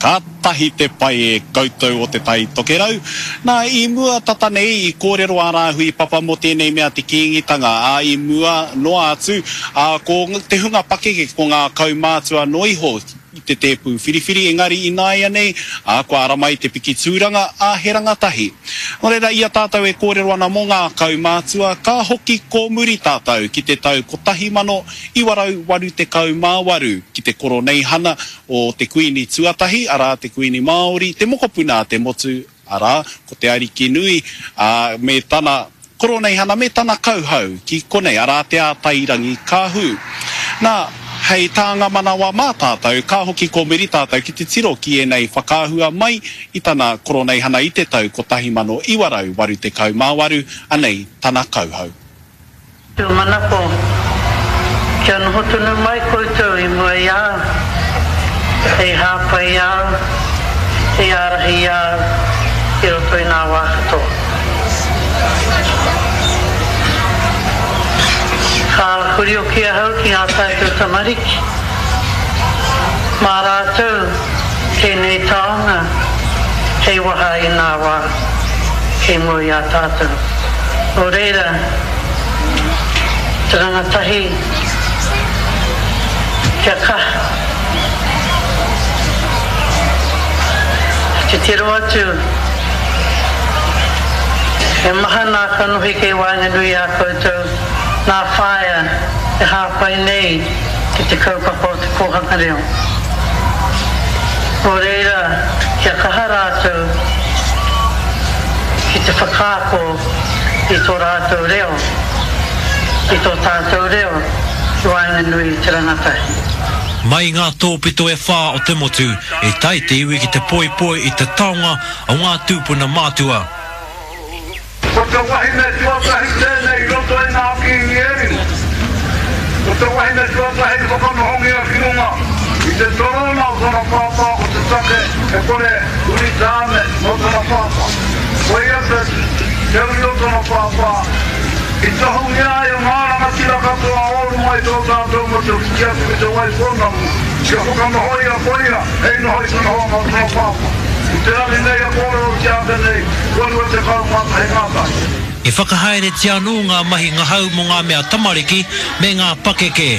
Kātahi te pai e koutou o Te Tai Tokerau. Nā, i mua tata nei i kōrero a Rāhui Papa mō tēnei mea te Kīngitanga, ā, i mua noa atu, ā, ko te hunga pakeke, ko ngā kaumātua noa iho i te tēpū whiriwhiri, engari ināianei, ā, kua ara mai te piki tūranga, ā, he rangatahi. Nō reira, i a tātou e kōrero ana mō ngā kaumātua, ka hoki kōmuri tātou ki te tau 1988, ki te Koroneihana o te Kuini tuatahi, arā, te Kuini Māori, te mokopuna a te motu, arā, ko te Arikinui, ā, me tana Koroneihana, me tana kauhau ki konei, arā, Te Ātairangikaahu. Nā, hei tānga manawa mā tātou, ka hoki kōmuri tātou ki te tiro ki ēnei whakaahua mai i tana Koroneihana i te tau 1988, anei tana kauhau. Tūmanako, kia noho tonu mai koutou i mua i a au, hei hāpai i a au, hei ārahi i a au i roto i ngā wā katoa. Ka huri hoki ahau ki ngā tātou tamariki, mā rātou tēnei taonga hei waha i ngā wā kei mua i a tātou. Nō reira, te rangatahi kia kaha. Titiro atu, he maha nā kanohi kei waenganui i a koutou, nā whaea e hāpai nei ki te kaupapa o te kōhanga reo. Nō reira, kia kaha rātou ki te whakaako i tō rātou reo, i tō tātou reo ki waenganui i te rangatahi. Mai i ngā tōpito e whā o te motu, i tae te iwi ki te poipoi i te taonga o ngā tūpuna mātua. Ko te wahine tuatahi tēnei i roto i ngā kīngi e rima. Ko te wahine tuatahi i whakanohongia ki runga i te torōna o tana pāpā ko te take he kore uri tāne nō tana pāpā. Ko ia te te uri o tana pāpā i tohungia ai o ngā rangatira katoa o runga i tō tātou motu ki atu ki Te Waipounamu kia whakanohoia ko ia hei noho i te nohoanga o tana pāpā. I te rangi nei e kōrerotia ake nei, kua 21 ngā tau. I whakahaeretia anō ngā mahi ngahau mō ngā mea tamariki me ngā pakeke.